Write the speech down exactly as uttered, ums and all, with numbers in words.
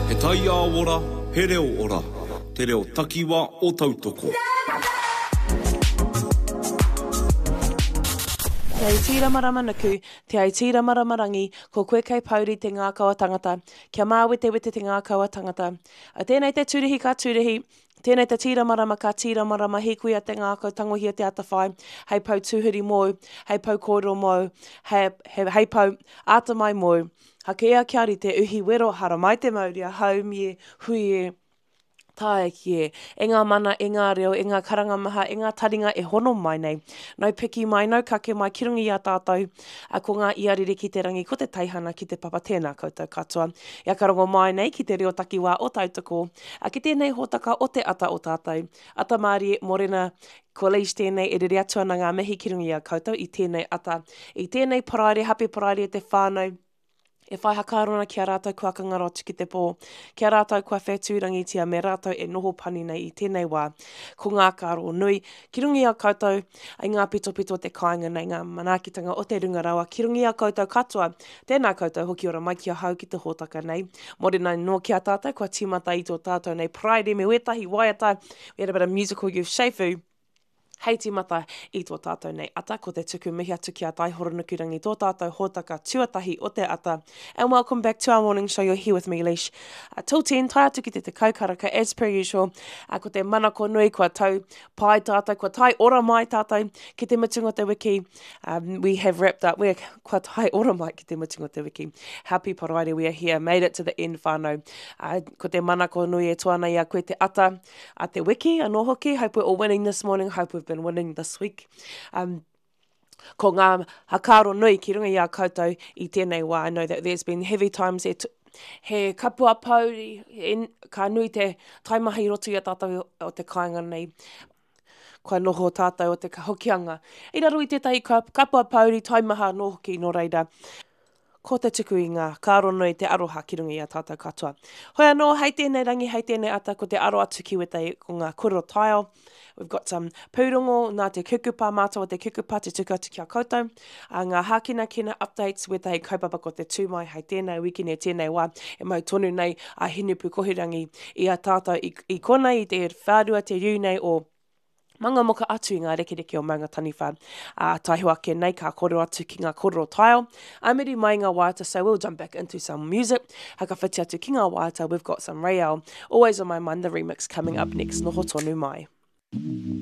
He taiao ora, he reo ora. Te reo takiwa o Tautoko. Te ai tīramarama nuku, te ai tīramarama rangi, ko koe kei pouri te ngākau a tangata, kia māwetewete te ngākau a tangata. A tēnei te tūrihi ka tūrihi, tēnei te tīramarama ka tīramarama hīkuia te ngākau tangohia te atawhai, hei pou tūhuri mōu, hei pou kōrero mōu, hei, hei, hei pou āta mai mōu. Hakea kia rite uhi wero haramai te mauria, haumi e, hui e, tae ki e, e ngā mana, e ngā reo, e ngā karanga maha, e ngā taringa e hono mai nei. Nau piki mai, nau kake mai, ki runga i a tātou, a ko ngā iarere ki te rangi, ko te teihana ki te papa, tēnā koutou katoa. Ia ka rongo mai nei ki te reo takiwā o Tautoko, a ki tēnei hōtaka o te ata o tātou. Ata mārie, morena, ko Leish tēnei e rere atu ana ngā mihi ki runga i a koutou i tēnei ata. I tēnei paraire, hape paraire te whānau, e whai hakaaro ana ki a rātou kua kangaro atu ki te pō, ki a rātou kua whetūrangitia me rātou e noho pani nei i tēnei wā. Ko ngā kāro nui, ki runga i a koutou, i ngā pitopito o te kāinga nei, ngā manaakitanga o te runga rawa, ki runga i a koutou katoa. Tēnā koutou hoki ora mai ki ahau ki te hōtaka nei. Morena nō ki a tātou, kua tīmata i tō tātou nei Paraire me wētahi waiata, we had a bit of musical youth Shefu. Hei tīmata i tō tātou nei ata, ko te tuku mihi atu ki a Taihoro Nukurangi, tō tātou hōtaka tuatahi o te ata. And welcome back to our morning show, you're here with me, Leish. Uh, till ten, tae atu ki te tekau karaka, as per usual. Uh, ko te manako nui, kua tau pai tātou, kua tae ora mai tātou ki te mutunga o te wiki. Um, we have wrapped up, we're kua tae ora mai ki te mutunga o te wiki. Happy Paraire, we are here, made it to the end whānau. Uh, ko te manako nui e toa ana i a koe te ata a te wiki, anō hoki. Hope we're all winning this morning, hope we've been winning this week. Um, ko ngā hakaaro nui ki runga i a koutou i tēnei wā. I know that there's been heavy times e he kapua pouri, e, ka nui te taimaha i roto i a tātou o te kāinga nei. Kua noho tātou o te hokianga. I raro i tētahi kapua pouri taimaha anō hoki nō reira. Ko te tuku i ngā kāro nui te aroha ki runga i a tātou katoa. Hoi anō, hei tēnei rangi, hei tēnei ata, ko te aro atu ki wētahi ko ngā kōrero taiao. We've got some pūrongo nā te kukupa, mātou o te kukupa te tuku atu ki a koutou. A ngā hākinakina updates, wētahi kaupapa ko te tū mai hei tēnei wikine, tēnei wā, e mau tonu nei a Hinepu Kohirangi i a tātou i, i konei i te whārua te riu nei o Mangamuka atu i ngā rekereke o Maunga Taniwha. Ā, taiho ake nei ka kōrero atu ki ngā kōrero taiao. Ā muri mai ngā waiata, so we'll jump back into some music. Hakawhiti atu ki ngā waiata, we've got some Rayel. Always on my mind, the remix coming up next. Noho tonu mai.